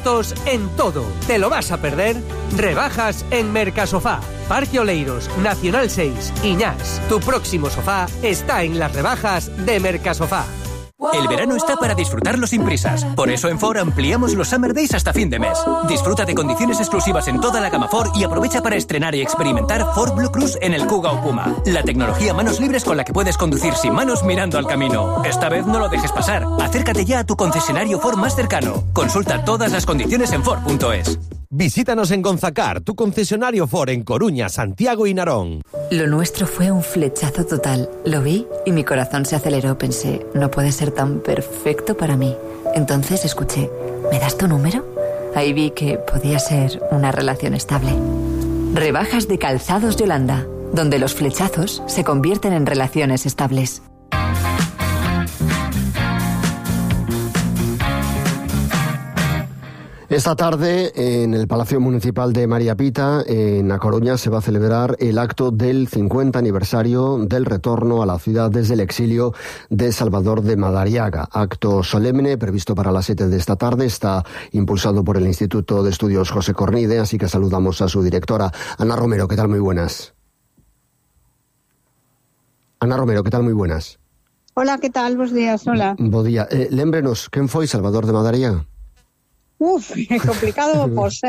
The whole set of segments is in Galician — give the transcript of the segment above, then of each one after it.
descuentos en todo. ¿Te lo vas a perder? Rebajas en Mercasofá, Parque Oleiros, Nacional 6, Iñás. Tu próximo sofá está en las rebajas de Mercasofá. El verano está para disfrutarlo sin prisas. Por eso en Ford ampliamos los Summer Days hasta fin de mes. Disfruta de condiciones exclusivas en toda la gama Ford y aprovecha para estrenar y experimentar Ford Blue Cruise en el Kuga o Puma. La tecnología manos libres con la que puedes conducir sin manos mirando al camino. Esta vez no lo dejes pasar. Acércate ya a tu concesionario Ford más cercano. Consulta todas las condiciones en Ford.es. Visítanos en Gonzacar, tu concesionario Ford en Coruña, Santiago y Narón. Lo nuestro fue un flechazo total. Lo vi y mi corazón se aceleró. Pensé, no puede ser tan perfecto para mí. Entonces escuché, ¿me das tu número? Ahí vi que podía ser una relación estable. Rebajas de Calzados Yolanda, donde los flechazos se convierten en relaciones estables. Esta tarde, en el Palacio Municipal de María Pita, en A Coruña, se va a celebrar el acto del 50 aniversario del retorno a la ciudad desde el exilio de Salvador de Madariaga. Acto solemne previsto para las 7 de esta tarde. Está impulsado por el Instituto de Estudios José Cornide, así que saludamos a su directora, Ana Romero. ¿Qué tal? Muy buenas. Ana Romero, ¿qué tal? Muy buenas. Hola, ¿qué tal? Buenos días, hola. Bo día. Lémbrenos, ¿quen foi Salvador de Madariaga? Complicado, pois.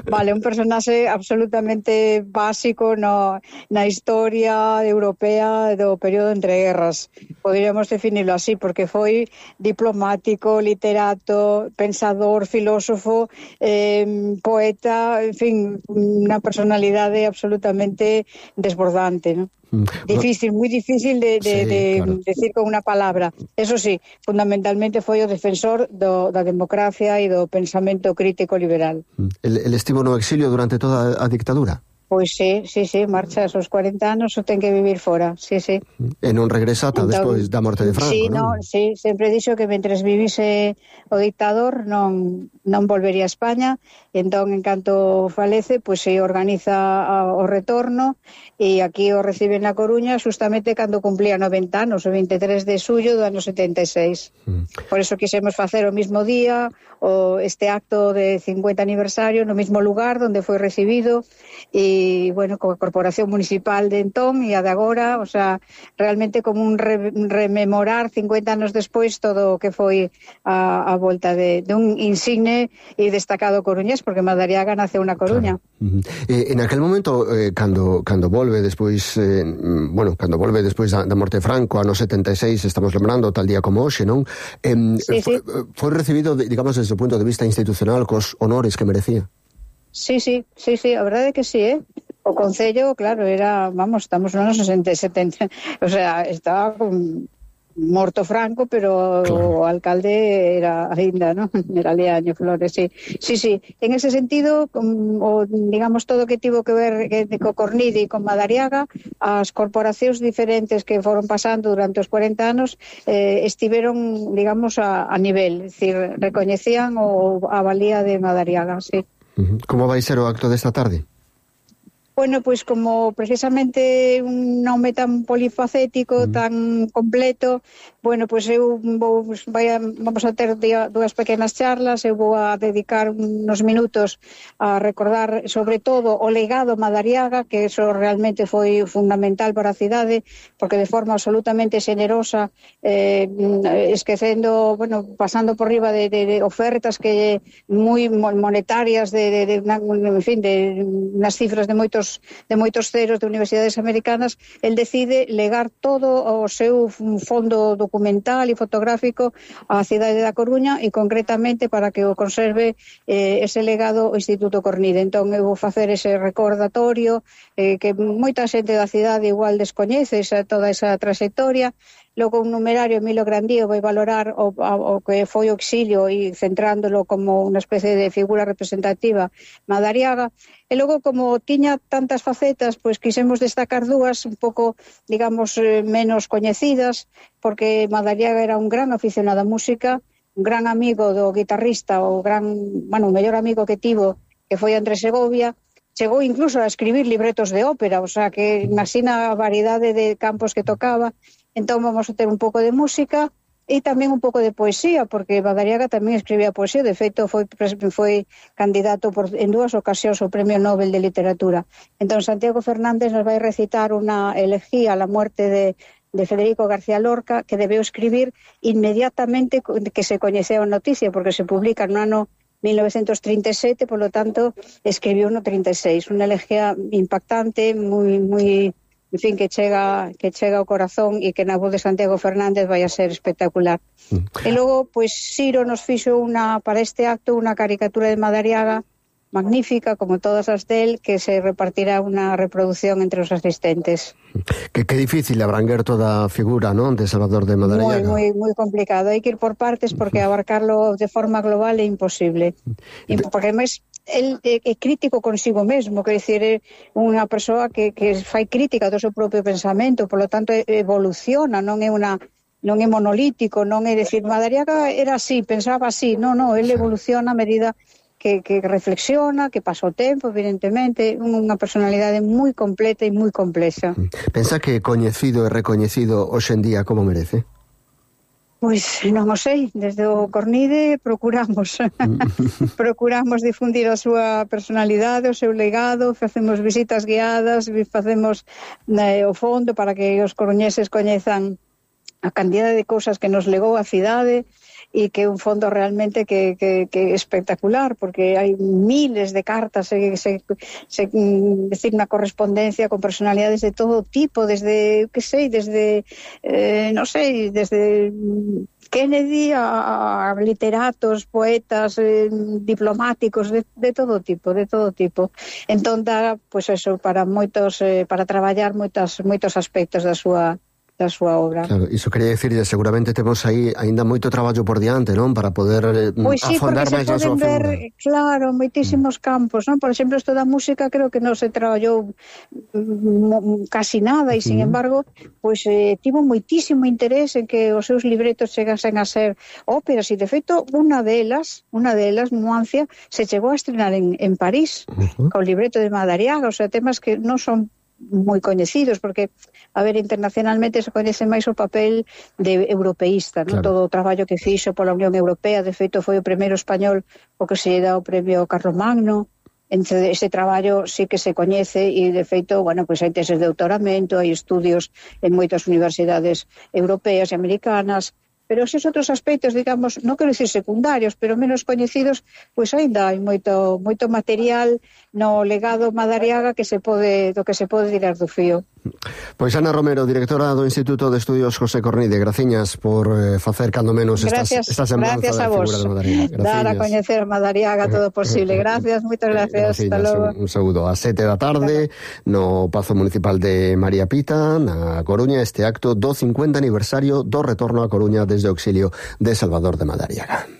Vale, un personaxe absolutamente básico na historia europea do período entre guerras. Poderíamos definirlo así, porque foi diplomático, literato, pensador, filósofo, poeta, en fin, unha personalidade absolutamente desbordante, ¿no? Difícil, moi difícil de claro, decir con unha palabra. Eso sí, fundamentalmente foi o defensor da democracia e do pensamento crítico liberal. El estivo no exilio durante toda a dictadura? Pois sí, marcha aos 40 anos ou ten que vivir fora, sí. E non regresa ata despois da morte de Franco, non? Sí, sempre dixo que mentres vivise o dictador non volvería a España, e entón, en canto falece, pois se organiza o retorno, e aquí o recibe na Coruña justamente cando cumplía 90 anos, o 23 de xullo do ano 76. Por eso quixemos facer o mismo día, este acto de 50 aniversario no mismo lugar onde foi recibido, e, bueno, coa Corporación Municipal de entón e a de agora, o sea, realmente como un rememorar 50 anos despois todo o que foi a volta de un insigne e destacado coruñés, porque Madariaga naceu na Coruña. Claro. En aquel momento, cando volve despois, cando volve despois da morte de Franco, ano 76, estamos lembrando tal día como hoxe, non? Foi recibido, digamos, desde o punto de vista institucional, cos honores que merecía. Sí, a verdade é que sí, O Concello, claro, estamos nos 60, o sea, estaba morto Franco, pero claro, o alcalde era aínda, ¿no? Era Leaño Flores, sí. En ese sentido, digamos, todo que tivo que ver co Cornide e con Madariaga, as corporacións diferentes que foron pasando durante os 40 anos estiveron, digamos, a nivel, es decir, recoñecían a valía de Madariaga, sí. Como vai ser o acto desta tarde? Bueno, pois como precisamente un nome tan polifacético, tan completo, bueno, pois eu vamos a ter dúas pequenas charlas, eu vou a dedicar unos minutos a recordar sobre todo o legado Madariaga, que eso realmente foi fundamental para a cidade, porque de forma absolutamente xenerosa, esquecendo, bueno, pasando por riba de ofertas que moi monetarias, en fin, de unas cifras de moitos ceros de universidades americanas, el decide legar todo o seu fondo documental e fotográfico á cidade da Coruña, e concretamente para que o conserve ese legado o Instituto Cornide. Entón eu vou facer ese recordatorio que moita xente da cidade igual descoñece toda esa trayectoria. Logo un numerario, Emilio Grandío, vai valorar o que foi o exilio e centrándolo como unha especie de figura representativa Madariaga. E logo, como tiña tantas facetas, pois quixemos destacar dúas un pouco, digamos, menos coñecidas, porque Madariaga era un gran aficionado á música, un gran amigo do guitarrista, o mellor amigo que tivo, que foi Andrés Segovia. Chegou incluso a escribir libretos de ópera, o sea, que imagina a variedade de campos que tocaba. Entón vamos a ter un pouco de música e tamén un pouco de poesía, porque Madariaga tamén escribía poesía, de feito foi candidato en 2 ocasións ao Premio Nobel de Literatura. Entón Santiago Fernández nos vai recitar unha elegía a la muerte de Federico García Lorca, que debeu escribir inmediatamente que se coñeceu a noticia, porque se publica no ano 1937, por lo tanto escribiu no 36, unha elegía impactante, moi en fin, que chega ao corazón e que na voz de Santiago Fernández vai a ser espectacular. E logo, pois, Ciro nos fixo para este acto unha caricatura de Madariaga magnífica, como todas as del, que se repartirá unha reproducción entre os asistentes. Que difícil abranguer toda a figura, non, de Salvador de Madariaga. Moi complicado. Hai que ir por partes porque abarcarlo de forma global é imposible. Porque máis el é crítico consigo mesmo, quer dicir, é unha persoa que fai crítica do seu propio pensamento, por lo tanto evoluciona, non é monolítico, non é dicir, Madariaga era así, pensaba así, non, ele evoluciona a medida que reflexiona, que pasa o tempo, evidentemente, unha personalidade moi completa e moi complexa. Pensa que coñecido e recoñecido hoxe en día como merece? Pois non o sei, desde o Cornide procuramos difundir a súa personalidade, o seu legado, facemos visitas guiadas, facemos o fondo para que os coruñeses coñezan a cantidade de cousas que nos legou a cidade, e que é un fondo realmente que é espectacular, porque hai miles de cartas, decir, unha correspondencia con personalidades de todo tipo, desde Kennedy a literatos, poetas, diplomáticos, de todo tipo. Entón dá, pois eso, para traballar moitos aspectos da súa obra. Claro, iso quería dicir, seguramente temos aí aínda moito traballo por diante, non? Para poder afondar máis na súa figura. Claro, moitísimos campos, non? Por exemplo, isto da música creo que non se traballou casi nada, e sin embargo, pois tivo moitísimo interés en que os seus libretos chegasen a ser óperas, e de feito, unha delas, Nuancia, se chegou a estrenar en París, con libreto de Madariaga, o sea, temas que non son moi coñecidos, porque, internacionalmente se coñece máis o papel de europeísta, non? Claro. Todo o traballo que fixo pola Unión Europea, de feito foi o primeiro español o que se dá o premio Carlomagno. Entre ese traballo sí que se coñece, e de feito, pois hai teses de doutoramento, hai estudios en moitas universidades europeas e americanas, pero esos outros aspectos, digamos, non quero dicir secundarios, pero menos coñecidos, pois aínda hai moito material no legado Madariaga do que se pode tirar do fío. Pois Ana Romero, directora do Instituto de Estudios José Cornide, graciñas por facer cando menos esta semblanza da figura de Madariaga. Dar a coñecer a Madariaga todo posible. Gracias, moitas gracias. Hasta logo. Un saúdo. A 7 da tarde, no Pazo Municipal de María Pita, na Coruña, este acto do 50 aniversario do retorno a Coruña desde o exilio de Salvador de Madariaga.